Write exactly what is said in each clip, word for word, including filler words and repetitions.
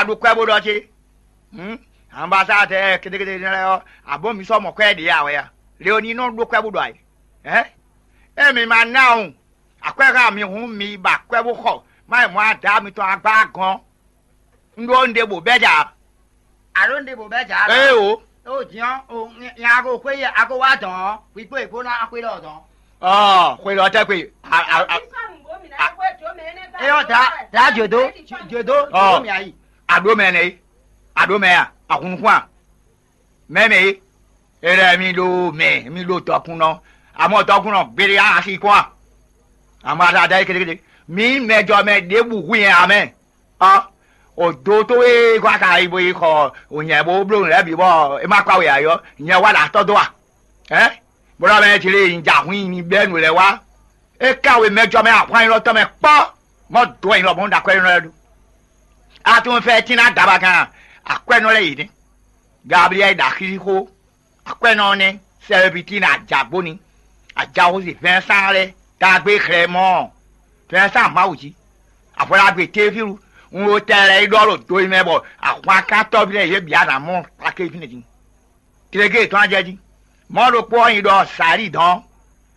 A ɖo kwɛ bó ɖɔ ce. Hǔn, ambasadɛɛ kétékété lɛ́ɛ ɔ́, abǒ mi sɔ́ mɔ kwɛ́ ɖě ǎ wɛ a? Leoni nɔ ɖó kwɛ bó ɖɔ ayǐ. Hɛ̌n? Ée mi ma ná wun akwɛ́ xá mi hǔn, mi yi ba kwɛ́ bó xɔ má yi mɔ̌ ada mitɔn agba gɔ́n. Un ɖó un ɖe bǒ bɛ́ jǎ. A ɖó un ɖe bǒ bɛ́ jǎ? Ée o. Ó jǐn ɔ́, o nya ko xwé yɛ a ko wá dɔn ɔ́, hwi kpó è kpó ná xwé ɖɔ dɔn. Ɔ, xwé ɖɔ tɛ́ kpé. Eyɔ dá dá jòdó jòdó jòdó mi ayi. A ɖó mɛ nɛ é? A ɖó mɛ a? A hun nukún a? Mɛ mɛ é? E lɛ́ mi ɖo mɛ, mi ɖo dɔkunnɔ. Amɔ dɔkunnɔ gbére a asi kɔn a? Amɔ a da da é kétékété. Mi mɛjɔ mɛ ɖěbǔ hu nyɛ ǎ mɛ. Ɔ, o do towe kɔ aka yi bo yi xɔ o nyɛ bo bló nǔ lɛ́ɛ bǐ bɔ é ma kpa we ǎ ɔ́, nyɛ wá ɖo atɔ́ dó a? Hɛ̌? Bó ɖɔ mɛ jlé nyi jǎ hun nyi bɛ́ nǔ lɛ́ɛ wá. É ká we mɛjɔ mɛ ahwan élɔ́ tɔn mɛ kpɔ́, mɔ dó wɛ nyí lɔ mɔ̌ ɖo akwɛ́ élɔ́ lɛ́ɛ ɖu. A tunwun fɛ tín ná daba kan akwɛ́nɔ lɛ́ɛ yě nɛ́. Gabliyɛ́li ɖo axixixo, akwɛ́nɔ ɔ́ nɛ́, Sɛlɛpitini ajagbóni, ajaxósi Vɛnsán lɛ́ɛ, tagbé xlɛ́ mɔ Vɛnsán Mawu jí. Afɔlágbé Tefilu, un ɖo tɛ lɛ́ɛ yi ɖɔ ɖo do e mɛ bɔ ahwankántɔ́ví lɛ́ɛ yě bǐ ná mɔ kpáké fínɛ́ din. Tlégé yětɔn ajɛ jí. Mɔ̌ ɖokpó ɔ́ nyi ɖɔ Sali dɔn.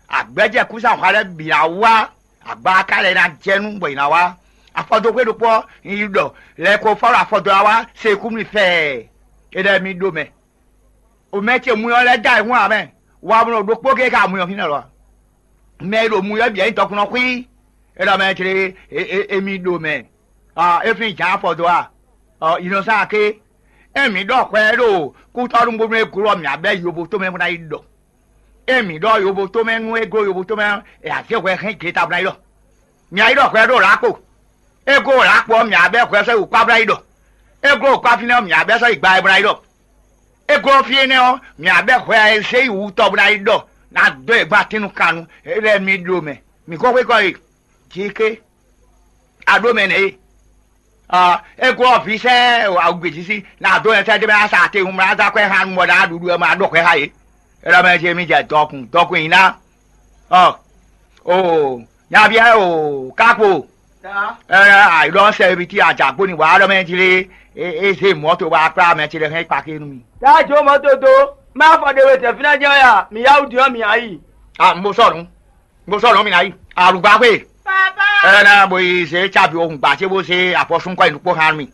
Agbɛ́jɛ kúsahwa lɛ́ɛ bǐ ná wá, agbaká lɛ́ɛ ná jɛ nú bɔ è nǎ wá. Afɔdoxwé ɖokpó ɔ́ nyi ɖɔ lɛ̌ ko fɔ́ ɖo afɔdɔ́ ná wá se kú mì fɛɛ. É lɛ́ mi ɖó mɛ. O mɛ ce muyɔ lɛ́ɛ dó ayǐhún ǎ mɛ. Wa mlɔ ɖokpó géé ka muyɔ fínɛ́ lɔ. Mɛ e ɖo muyɔ bǐ wɛ nyí dɔkunnɔ xwí. É ɖɔ mɛ ce émí ɖo mɛ. É flín jǎn afɔ dó a? Ɔ, inɔsán ké. É mǐ ɖɔ hwɛ ɖo kútɔ́núgbónú e glɔ́ mǐ abɛ́ yovo tomɛ bó ná yi ɖɔ. É mǐ ɖɔ yovo tomɛ nú é gló yovo tomɛ ɔ́, è azě hwɛ hɛn gleta bó ná yi ɖɔ. Mǐ a yi ɖɔ hwɛ ɖo lǎkpo. É gló lǎkpo ɔ́, mǐ abɛ́ hwɛ sɔ́ yi wǔkpá bó ná yi ɖɔ. É gló wǔkpá fínɛ́ ɔ́, mǐ abɛ́ sɔ́ yi gba wɛ bó ná yi ɖɔ. É glɔ́ fí énɛ́ ɔ́, mǐ abɛ́ hwɛ e zé yi wú tɔ́ bó ná yi ɖɔ ná dó e gbán tínú kan nu. É lɛ́ mi ɖo mɛ. Mǐ ko xwé kɔ e. Jǐké. A ɖó mɛ nɛ̌ e? É glɔ́ vǐ sɛ́ awugbějísí ná dó nyɛ sɛ́ dó mɛ ná sa atewun mlá dó akwɛ́ xá nu bɔ ná ɖuɖu wɛ ma ɖɔ hwɛ xá yě. É ɖɔ mɛ ce mi jɛ dɔkun dɔkun nyi ná. Ɔ, o nyaví ɛ o kákpo. Ɛ, àìlɔ sɛbiti àjàgbó ni wàá lɔ mɛ jí lé. É zé mɔ̌to wá kplá mɛ ce lɛ hɛn kpakí nú mi. Tá jó mɔ̌to dó, má fɔ ɖe we tɛ́fínɛ́ jɛ́n ya, mǐ yá wú din ɔ́ mǐ ná yi. A mo sɔnu, mo sɔnu mi ná yi alugba xwé. Ɛ na bo yi zé cabi ohun gbà tí bó zé afɔsúnkɔ yi nukpó hàn mi.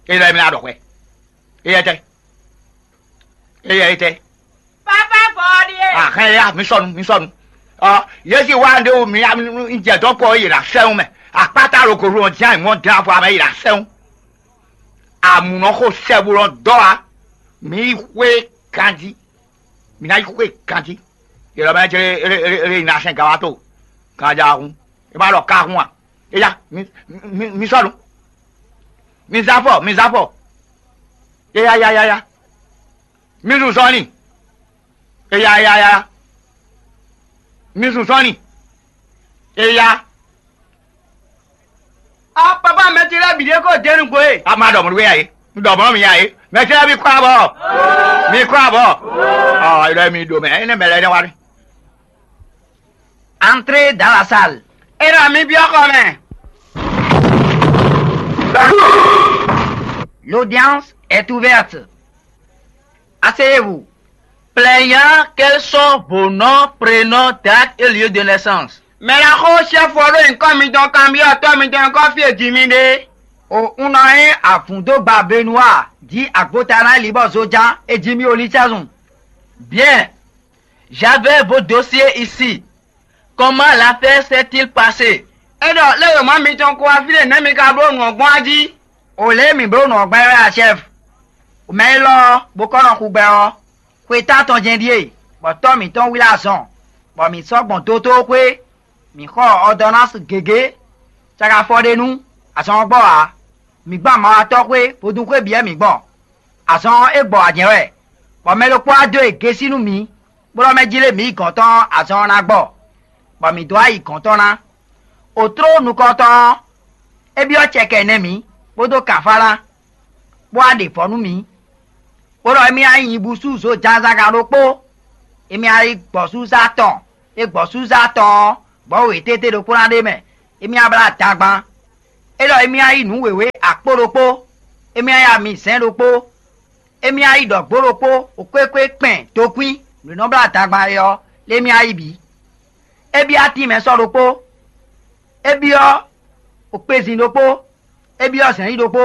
É lɔ mi ná ɖɔ hwɛ. Éyɛ́ tɛ́. Éyɛ́ tɛ́. Papa fɔ ɔ́ ɖíe. Ahɛn ya mi sɔnu mi sɔnu. Ɔ, Yesu wá ɖé wo mi jɛ dɔn kɔ yìí la sɛn mɛ. Akpata lo ko lo jẹ́ ìmọ̀ dín afɔ amɛ yìí la sɛn. Àmùnɔ xo sɛbulɔ dɔ wa. Mi yi xwé ganji. Mi ná yi xwé ganji. Yɛlɛ mɛ jɛ ere ere ere ina sɛn gawa to. Ganji ahun. E ma ɖɔ ka hun a? Eya mi mi mi sɔnu. Mi zafɔ mi zafɔ. Eya ya ya ya. Mi zun zɔnni. Eya eya eya. Mi zun zɔnni. Eya. A papa mɛ ce lɛ́ bǐ ɖé kó dé nugbo e. A ma ɖɔ mɔ̌ ɖu ya e. Un ɖɔ mɔ̌ mi ya e. Mɛ ce lɛ́ mi kɔ abɔ. Mi kɔ abɔ. Ɔ ilɔ mi ɖo mɛ. Ene mɛ lɛ ne wa ni. Entrez dans la salle. Era mi biɔ xɔ mɛ. L'audience est ouverte. Asseyez-vous. Plaignant, quels sont vos noms, prénoms, date et lieu de naissance? Mɛ la xo sɛ́fɔ ɖó nyǐkɔ mitɔn kanbyɔ́ tɔ́ mitɔn e kɔ́ fí e ji mi ɖe. O un nɔ nyí avǔndógba Benoît jí agbota ná libɔ zoján e ji mi o lísɛ́zun. Bien. J'avais vos dossiers ici. Comment l'affaire s'est-il passée? É ɖɔ lé wěma mitɔn kó wá fí ɖé nɛ̌ mi ka bló nǔ ɔ́ gbɔn a jí? O lě e mǐ bló nǔ ɔ́ gbɛ́ wɛ a chɛ́f. Mɛ élɔ́ ɔ́, bó kɔ́ nɔ xu gbɛ ɔ́, xwe tántɔn jɛ́n ɖíe, bɔ tɔ́ mǐtɔn wlí azɔn, bɔ mǐ sɔ́ gbɔn dótóxwé, mǐ xɔ ɔdɔnási gěgé, caki afɔ ɖé nú azɔn ɔ́ gbɔ ǎ. Mǐ gbɔn amawatɔ́xwé vodúnxwé bǐ wɛ mǐ gbɔn. Azɔn ɔ́, é gbɔ wǎ jɛ́n wɛ, bɔ mɛ ɖokpó wá dó e gésí nú mǐ, bó ɖɔ mɛ jí lé mǐ yi gɔ̌n tɔn ɔ́, azɔn ɔ́ ná gbɔ, bɔ mǐ dó wá yi gɔ̌n tɔn ná. Otló nukɔntɔn ɔ́, é byɔ́ cɛkɛ nɛ́ mǐ, kpódó kǎnfá ná, bó wá ɖe vɔ̌ nú mǐ, bó ɖɔ émí ná nyi nyibúsú zojǎnzagán ɖokpó, émí ná yi gbɔ̌súzá tɔn, é gbɔ̌súzá tɔn ɔ́, gbɔ̌ wětété ɖokpó ná ɖ'é mɛ, émí ná blá adagban. É ɖɔ émí ná yí nǔ wěwé akpó ɖokpó, émí ná yá mi zɛ̌n ɖokpó, émí ná yí ɖɔ̌gbó ɖokpó, xwéxwé kpɛn tokwín nǔ e nɔ blá adagba é ɔ́, lé émí ná yí bǐ. É byɔ́ atín mɛ sɔ́ ɖokpó, é byɔ́ kpezin ɖokpó, é byɔ́ zɛ̌n yí ɖokpó.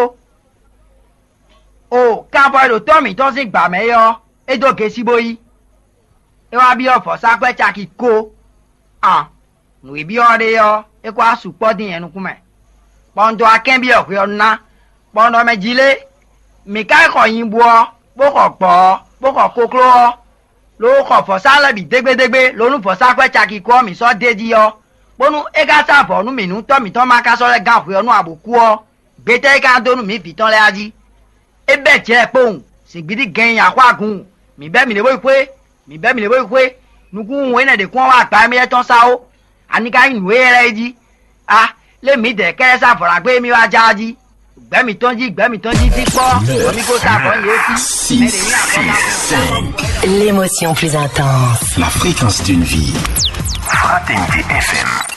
O kanvɔ e ɖo tɔ́ mǐtɔn sín gbǎ mɛ é ɔ́, é dó gesi bó yí. É wá byɔ́ vɔ̌sákwɛ́ caki ko. An, nǔ e byɔ́ ɔ́ ɖe ɔ́, é ko wá sukpɔ́ dín nyɛ nukún mɛ, bɔ un dó wá kɛ́nbyɔ́ hwe ɔ́ ná, bɔ un ɖɔ mɛ jí lé, mǐ ka yi xɔ nyibú ɔ́, bó xɔ gbɔ̌ ɔ́, bó xɔ kokló ɔ́, ló xɔ vɔ̌sá lɛ́ɛ bǐ dégbédégbé, ló nú vɔ̌sákwɛ́ caki ko ɔ́ mǐ sɔ́ d'é jí ɔ́, bónú é ka sá vɔ̌ nú mǐ nú tɔ́ mǐtɔn ma ka sɔ́ lɛ́ gán hwe ɔ́ nú abǒ kú ɔ́, gbetɛ́ é ka dó nú mǐ vǐ tɔn lɛ́ɛ a jí? É bɛ́ jɛ kpowun, zǐngbídí gɛn nyi axwágun, mǐ bɛ́ mǐɖée bó yi xwé, mǐ bɛ́ mǐɖée bó yi xwé, nukúnnu énɛ́ ɖě kún wá wá gbǎ émí lɛ́ɛ tɔn sá ó. Ani ka nyí nǔ éyɛ́ lɛ́ɛ é jí? A, lé mǐdɛɛ kɛ́ɖɛ́ sá vɔ̌ ɖagbe émí wá já ɔ́ jí? Gbɛ̌ mǐtɔn jí, gbɛ̌ mǐtɔn jí fí kpɔ́, bɔ mí ko sá vɔ̌ nyi yě fí. Mɛ ɖě nyí axɔ́ ná. L'émotion plus intense. La fréquence d'une vie. Fraternité F M.